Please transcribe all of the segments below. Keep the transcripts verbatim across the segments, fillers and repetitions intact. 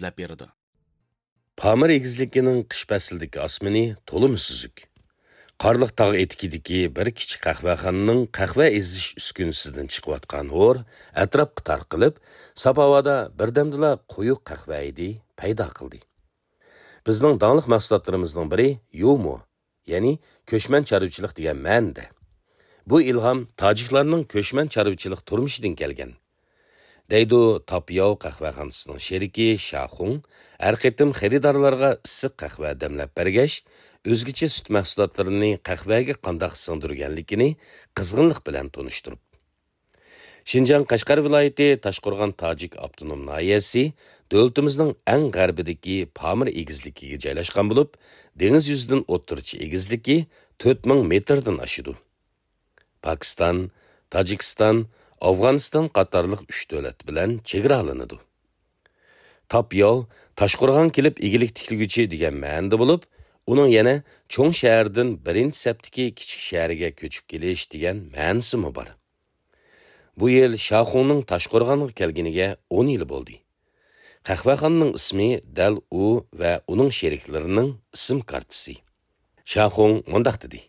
دەپ بېرىدۇ. پامىر ئېگىزلىكىنىڭ قىش پەسلىدىكى ئاسمىنى تولىمۇ سۈزۈك. قارلىق تاغ ئېتىكىدىكى بىر كىچىك قەھۋەخانىنىڭ قەھۋە ئېزىش ئۈسكۈنىسىدىن چىقىۋاتقان ھور ئەتراپقا تارقىلىپ، ساپ ھاۋادا بىردەمدىلا قويۇق قەھۋە ھىدى پەيدا قىلدى. بىزنىڭ داڭلىق مەھسۇلاتلىرىمىزنىڭ بىرى يۇمۇ، يەنى كۆچمەن چارۋىچىلىق دېگەن مەنىدە. بۇ ئىلھام تاجىكلارنىڭ كۆچمەن چارۋىچىلىق تۇرمۇشىدىن كەلگەن، دەيدۇ تاپياۋ قەھۋەخانىسىنىڭ شېرىكى شاخۇڭ، ھەر قېتىم خېرىدارلارغا ئىسسىق قەھۋە دەملەپ بەرگەچ، ئۆزگىچە سۈت مەھسۇلاتلىرىنى قەھۋەگە قانداق سىڭدۈرگەنلىكىنى قىزغىنلىق بىلەن تونۇشتۇرۇپ. شىنجاڭ قەشقەر ۋىلايىتى تاشقورغان تاجىك ئاپتونوم ناھىيەسى دۆلىتىمىزنىڭ ئەڭ غەربىدىكى پامىر ئېگىزلىكىگە جايلاشقان بولۇپ، دېڭىز يۈزىدىن ئوتتۇرىچە ئېگىزلىكى تۆت مىڭ مېتىردىن ئاشىدۇ. پاكىستان، تاجىكىستان، ئافغانىستان قاتارلىق ئۈچ دۆلەت بىلەن چېگرالىنىدۇ. تاپياۋ تاشقورغان كېلىپ ئىگىلىك تىكلىگۈچى دېگەن مەنىدە بولۇپ، ئۇنىڭ يەنە چوڭ شەھەردىن بىرىنچى سەپتىكى كىچىك شەھەرگە كۆچۈپ كېلىش دېگەن مەنىسىمۇ بار. بۇ يىل شاخۇڭنىڭ تاشقورغانغا كەلگىنىگە ئون يىل بولدى. قەھۋەخانىنىڭ ئىسمى دەل ئۇ ۋە ئۇنىڭ شېرىكلىرىنىڭ ئىسىم كارتىسى. شاخۇڭ مۇنداق دېدى: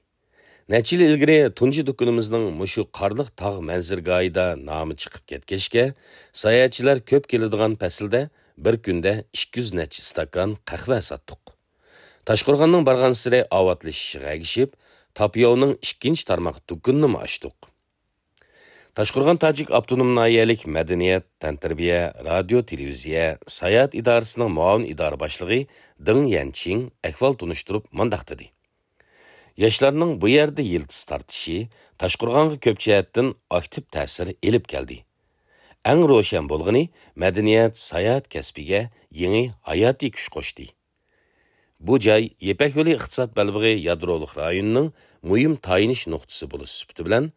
نەچچە يىل ئىلگىرى تۇنجى دۇكىنىمىزنىڭ مۇشۇ قارلىق تاغ مەنزىرىگاھىدا نامى چىقىپ كەتكەچكە، ساياھەتچىلەر كۆپ كېلىدىغان پەسىلدە بىر كۈندە ئىككى يۈز نەچچە ئىستاكان قەھۋە ساتتۇق. تاشقورغاننىڭ بارغانسېرى ئاۋاتلىشىشىغا ئەگىشىپ، تاپياۋنىڭ ئىككىنچى تارماق دۇكىنىنىمۇ ئاچتۇق. تاشقورغان تاجىك ئاپتونوم ناھىيەلىك مەدەنىيەت، تەنتەربىيە، رادىيو، تېلېۋىزىيە، ساياھەت ئىدارىسىنىڭ مۇئاۋىن ئىدارە باشلىقى دېڭ يەنچىڭ ئەھۋال تونۇشتۇرۇپ مۇنداق دېدى: ياشلارنىڭ بۇ يەردە يىلتىز تارتىشى تاشقورغانغا كۆپ جەھەتتىن ئاكتىپ تەسىر ئېلىپ كەلدى. ئەڭ روشەن بولغىنى، مەدەنىيەت، ساياھەت كەسپىگە يېڭى ھاياتىي كۈچ قوشتى. بۇ جاي يىپەك يولى ئىقتىساد بەلبېغى يادرولۇق رايونىنىڭ مۇھىم تايىنىش نۇقتىسى بولۇش سۈپىتى بىلەن،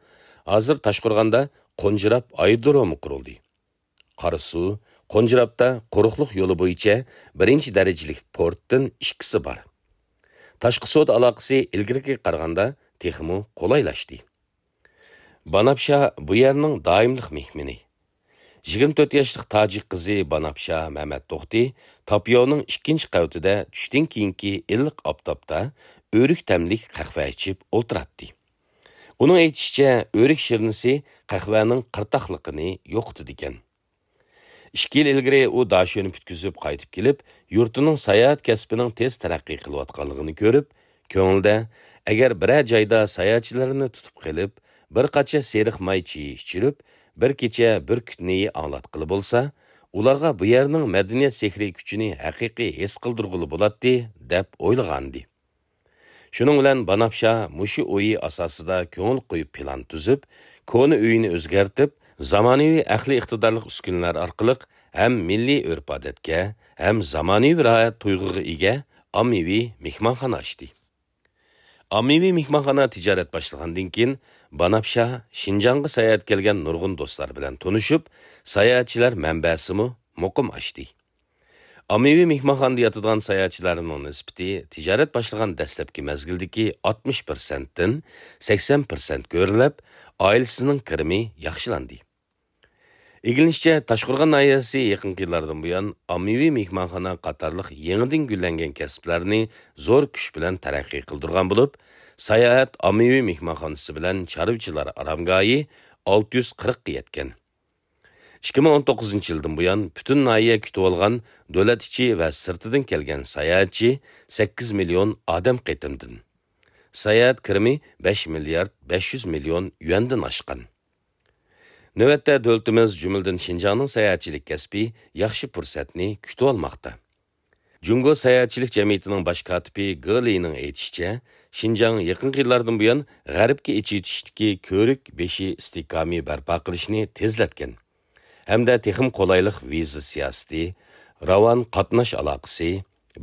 ھازىر تاشقورغاندا قونجىراپ ئايرودرومى قۇرۇلدى. قاراسۇ، قونجىراپتا قۇرۇقلۇق يولى بويىچە بىرىنچى دەرىجىلىك پورتتىن ئىككىسى بار. تاشقى سودا ئالاقىسى ئىلگىرىكىگە قارىغاندا تېخىمۇ قولايلاشتى. باناپشا بۇ يەرنىڭ دائىملىق مېھمىنى. يىگىرمە تۆت ياشلىق تاجىك قىزى باناپشا مەمەت توختى تاپياۋنىڭ ئىككىنچى قەۋىتىدە چۈشتىن كېيىنكى ئىللىق ئاپتاپتا ئۆرۈك تەملىك قەھۋە ئىچىپ ئولتۇراتتى. ئۇنىڭ ئېيتىشىچە، ئۆرۈك شىرنىسى قەھۋەنىڭ قىرتاقلىقىنى يوقىتىدىكەن. ئىككى يىل ئىلگىرى ئۇ داشۆنى پۈتكۈزۈپ قايتىپ كېلىپ، يۇرتىنىڭ ساياھەت كەسپىنىڭ تېز تەرەققىي قىلىۋاتقانلىقىنى كۆرۈپ، كۆڭلىدە، ئەگەر بىرەر جايدا ساياھەتچىلەرنى تۇتۇپ قېلىپ، بىر قاچا سېرىق ماي چېيى ئىچۈرۈپ، بىر كېچە بۈركۈت نېيى ئاڭلاتقىلى بولسا، ئۇلارغا بۇ يەرنىڭ مەدەنىيەت سېھرىي كۈچىنى ھەقىقىي ھېس قىلدۇرغىلى بولاتتى، دەپ ئويلىغانىدى. شۇنىڭ بىلەن باناپشا مۇشۇ ئويى ئاساسىدا كۆڭۈل قويۇپ پىلان تۈزۈپ، كونا ئۆيىنى ئۆزگەرتىپ، زامانىۋى ئەقلىي ئىقتىدارلىق ئۈسكۈنىلەر ئارقىلىق ھەم مىللىي ئۆرپ-ئادەتكە، ھەم زامانىۋى راھەت تۇيغۇغا ئىگە ئاممىۋى مېھمانخانا ئاچتى. ئاممىۋى مېھمانخانا تىجارەت باشلىغاندىن كېيىن، باناپشا شىنجاڭغا ساياھەتكە كەلگەن نۇرغۇن دوستلار بىلەن تونۇشۇپ، ساياھەتچىلەر مەنبەسىمۇ مۇقىم ئاشتى. ئاممىۋى مېھمانخانىدا ياتىدىغان ساياھەتچىلەرنىڭ نىسبىتى تىجارەت باشلىغان دەسلەپكى مەزگىلدىكى ئاتمىش پىرسەنتتىن سەكسەن پىرسەنت كۆرۈلۈپ، ئائىلىسىنىڭ كىرىمى ياخشىلاندى. ئىگىلىنىشىچە، تاشقورغان ناھىيەسى يېقىنقى يىللاردىن بۇيان ئاممىۋى مېھمانخانا قاتارلىق يېڭىدىن گۈللەنگەن كەسىپلەرنى زور كۈچ بىلەن تەرەققىي قىلدۇرغان بولۇپ، ساياھەت ئاممىۋى مېھمانخانىسى بىلەن چارۋىچىلار ئارامگاھى ئالتە يۈز قىرىققا يەتكەن. ئىككى مىڭ ئون توققۇزىنچى يىلدىن بۇيان پۈتۈن ناھىيە كۈتۈۋالغان دۆلەت ئىچى ۋە سىرتىدىن كەلگەن ساياھەتچى سەككىز مىليون ئادەم قېتىمدىن. ساياھەت كىرىمى بەش مىليارد بەش يۈز مىليون يۈەندىن ئاشقان. نۆۋەتتە دۆلىتىمىز، جۈملىدىن شىنجاڭنىڭ ساياھەتچىلىك كەسپى ياخشى پۇرسەتنى كۈتۈۋالماقتا. جۇڭگو ساياھەتچىلىك جەمئىيىتىنىڭ باش كاتىپى گې لىنىڭ ئېيتىشىچە، شىنجاڭ يېقىنقى يىللاردىن بۇيان غەربكە ئېچىۋېتىشتىكى كۆۋرۈك بېشى ئىستىھكامى بەرپا قىلىشنى تېزلەتكەن ھەمدە تېخىمۇ قولايلىق ۋىزا سىياسىتى، راۋان قاتناش ئالاقىسى،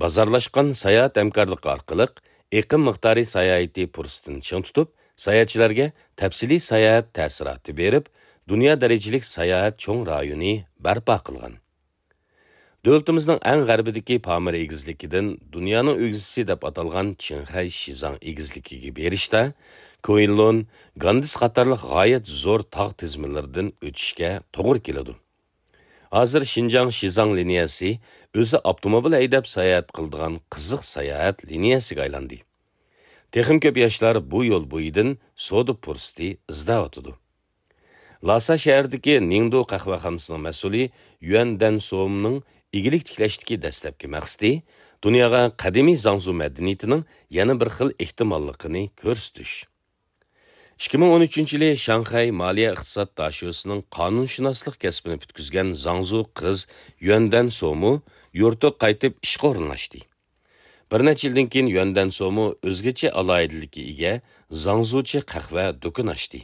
بازارلاشقان ساياھەت ھەمكارلىقى ئارقىلىق ئېقىم مىقدارى ساياھىتى پۇرسىتىنى چىڭ تۇتۇپ، ساياھەتچىلەرگە تەپسىلىي ساياھەت تەسىراتى بېرىپ، دۇنيا دەرىجىلىك ساياھەت چوڭ رايونى بەرپا قىلغان. دۆلىتىمىزنىڭ ئەڭ غەربىدىكى پامىر ئېگىزلىكىدىن دۇنيانىڭ ئۆگزىسى دەپ ئاتالغان چىڭخەي شىزاڭ ئېگىزلىكىگە بېرىشتە كۇئېنلۇن، گاندىس قاتارلىق غايەت زور تاغ تىزمىلىرىدىن ئۆتۈشكە توغرا كېلىدۇ. ھازىر شىنجاڭ شىزاڭ لىنىيەسى ئۆزى ئاپتوموبىل ھەيدەپ ساياھەت قىلىدىغان قىزىق ساياھەت لىنىيەسىگە ئايلاندى. تېخىمۇ كۆپ ياشلار بۇ يول بويىدىن سودا پۇرسىتى ئىزدەۋاتىدۇ. لاسا شەھىرىدىكى نىڭدۇ قەھۋەخانىسىنىڭ مەسئۇلى يۈەن دەن سومنىڭ ئىگىلىك تىكلەشتىكى دەسلەپكى مەقسىتى دۇنياغا قەدىمىي زاڭزۇ مەدەنىيىتىنىڭ يەنە بىر خىل ئېھتىماللىقىنى كۆرسىتىش. ئىككى مىڭ ئون ئۈچىنچى يىلى شاڭخەي مالىيە ئىقتىساد داشۆسىنىڭ قانۇنشۇناسلىق كەسپىنى پۈتكۈزگەن زاڭزۇ قىز يۈەن دەن سومۇ يۇرتىغا قايتىپ ئىشقا ئورۇنلاشتى. بىر نەچچە يىلدىن كېيىن يۈەن دەن سومۇ ئۆزگىچە ئالاھىدىلىككە ئىگە زاڭزۇچە قەھۋە دۇكىنى ئاچتى.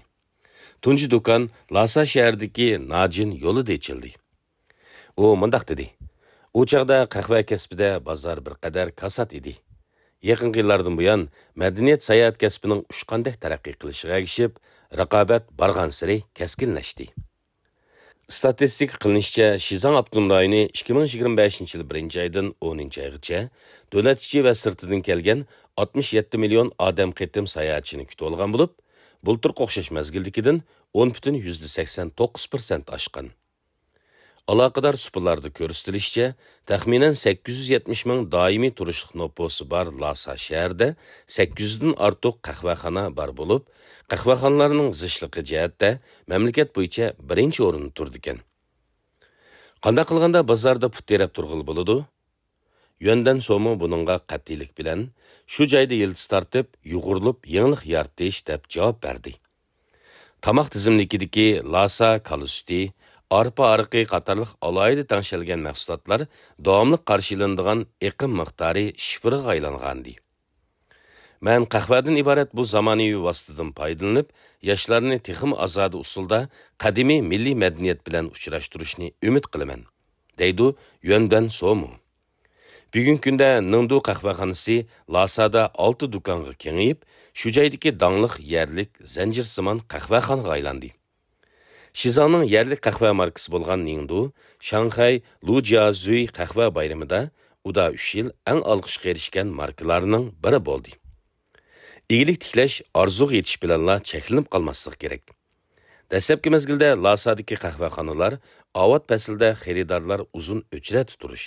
تۇنجى دۇكان لاسا شەھىرىدىكى ناجىن يولىدا ئېچىلدى. ئۇ مۇنداق دېدى: «ئۇ چاغدا قەھۋە كەسپىدە بازار بىر قەدەر كاسات ئىدى. يېقىنقى يىللاردىن بۇيان مەدەنىيەت ساياھەت كەسپىنىڭ ئۇچقاندەك تەرەققىي قىلىشىغا ئەگىشىپ، رىقابەت بارغانسېرى كەسكىنلەشتى.» ئىستاتىستىكا قىلىنىشىچە، شىزاڭ ئاپتونوم رايونى ئىككى مىڭ يىگىرمە بەشىنچى يىل بىرىنچى ئايدىن ئونىنچى ئايغىچە دۆلەت ئىچى ۋە سىرتىدىن كەلگەن ئاتمىش يەتتە مىليون ئادەم قېتىم ساياھەتچىنى كۈتۈۋالغان بولۇپ، بۇلتۇرقى ئوخشاش مەزگىلدىكىدىن ئون پۈتۈن يۈزدە سەكسەن توققۇز پىرسەنت ئاشقان. ئالاقىدار سۇپىلاردا كۆرسىتىلىشىچە، تەخمىنەن سەككىز يۈز يەتمىش مىڭ دائىمىي تۇرۇشلۇق نوپۇسى بار لاسا شەھىرىدە سەككىز يۈزدىن ئارتۇق قەھۋەخانا بار بولۇپ، قەھۋەخانىلارنىڭ زىچلىقى جەھەتتە مەملىكەت بويىچە بىرىنچى ئورۇندا تۇرىدىكەن. قانداق قىلغاندا بازاردا پۇت تىرەپ تۇرغىلى بولىدۇ؟ يۈەندەن سومۇ بۇنىڭغا قەتئىيلىك بىلەن، شۇ جايدا يىلتىز تارتىپ، يۇغۇرۇلۇپ يېڭىلىق يارىتىش، دەپ جاۋاب بەردى. تاماق تىزىملىكىدىكى لاسا كالا سۈتى، ئارپا ئارىقى قاتارلىق ئالاھىدە تەڭشەلگەن مەھسۇلاتلار داۋاملىق قارشى ئېلىنىدىغان ئېقىم مىقدارى شىفىرغا ئايلانغانىدى. مەن قەھۋەدىن ئىبارەت بۇ زامانىۋى ۋاسىتىدىن پايدىلىنىپ، ياشلارنى تېخىمۇ ئازادە ئۇسۇلدا قەدىمىي مىللىي مەدەنىيەت بىلەن ئۇچراشتۇرۇشنى ئۈمىد قىلىمەن، دەيدۇ يۈەندەن سومۇ. بۈگۈنكى كۈندە نىڭدۇ قەھۋەخانىسى لاسادا ئالتە دۇكانغا كېڭىيىپ، شۇ جايدىكى داڭلىق يەرلىك زەنجىرسىمان قەھۋەخانىغا ئايلاندى. شىزاڭنىڭ يەرلىك قەھۋە ماركىسى بولغان نىڭدۇ، شاڭخەي لۇجيازۈي قەھۋە بايرىمىدا ئۇدا ئۈچ يىل ئەڭ ئالقىشقا ئېرىشكەن ماركىلارنىڭ بىرى بولدى. ئىگىلىك تىكلەش ئارزۇغا يېتىش بىلەنلا چەكلىنىپ قالماسلىقى كېرەك. دەسلەپكى مەزگىلدە لاسادىكى قەھۋەخانىلار ئاۋات پەسلىدە خېرىدارلار ئۇزۇن ئۆچرەتتە تۇرۇش،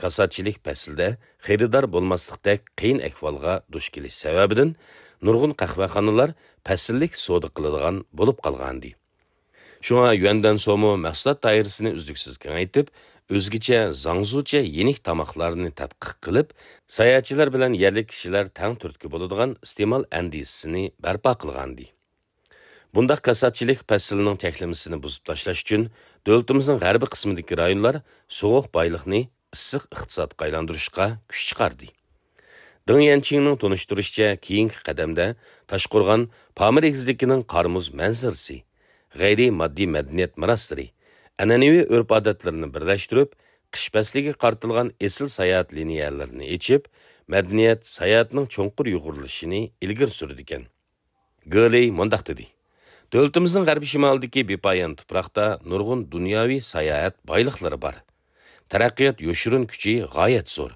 كاساتچىلىك پەسلىدە خېرىدار بولماسلىقتەك قىيىن ئەھۋالغا دۇچ كېلىش سەۋەبىدىن نۇرغۇن قەھۋەخانىلار پەسىللىك سودا قىلىدىغان بولۇپ قالغانىدى. شۇڭا يۈەندەن سومۇ مەھسۇلات دائىرىسىنى ئۈزلۈكسىز كېڭەيتىپ، ئۆزگىچە زاڭزۇچە يېنىك تاماقلارنى تەتقىق قىلىپ، ساياھەتچىلەر بىلەن يەرلىك كىشىلەر تەڭ تۈرتكە بولىدىغان ئىستېمال ئەندىزىسىنى بەرپا قىلغانىدى. بۇنداق كاساتچىلىق پەسلىنىڭ تەكلىمىسىنى بۇزۇپ تاشلاش ئۈچۈن، دۆلىتىمىزنىڭ غەربىي قىسمىدىكى رايونلار سوغۇق بايلىقنى ئىسسىق ئىقتىسادقا ئايلاندۇرۇشقا كۈچ چىقاردى. دېڭ يەنچىڭنىڭ تونۇشتۇرۇشىچە، كېيىنكى قەدەمدە تاشقورغان پامىر ئېگىزلىكىنىڭ قارىمۇز مەنزىرىسى، غەيرىي ماددىي مەدەنىيەت مىراسلىرى، ئەنئەنىۋى ئۆرپ-ئادەتلىرىنى بىرلەشتۈرۈپ، قىش پەسلىگە قارىتىلغان ئېسىل ساياھەت لىنىيەلىرىنى ئېچىپ، مەدەنىيەت، ساياھەتنىڭ چوڭقۇر يۇغۇرۇلۇشىنى ئىلگىرى سۈرىدىكەن. گېلېي مۇنداق دېدى: «دۆلىتىمىزنىڭ غەربىي شىمالىدىكى بىپايان تۇپراقتا نۇرغۇن دۇنياۋى ساياھەت بايلىقلىرى بار. تەرەققىيات يوشۇرۇن كۈچى غايەت زور.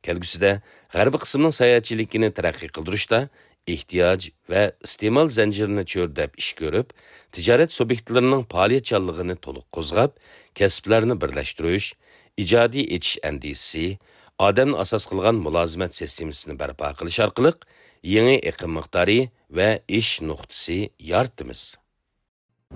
كەلگۈسىدە غەربىي قىسىمنىڭ ساياھەتچىلىكىنى تەرەققىي قىلدۇرۇشتا ئېھتىياج ۋە ئىستېمال زەنجىرىنى چۆرىدەپ ئىش كۆرۈپ، تىجارەت سۇبيېكتلىرىنىڭ پائالىيەتچانلىقىنى تولۇق قوزغاپ، كەسىپلەرنى بىرلەشتۈرۈش، ئىجادىي ئېچىش ئەندىزىسى، ئادەمنى ئاساس قىلغان مۇلازىمەت سىستېمىسىنى بەرپا قىلىش ئارقىلىق يېڭى ئېقىم مىقدارى ۋە ئېشىش نۇقتىسى يارىتىمىز.»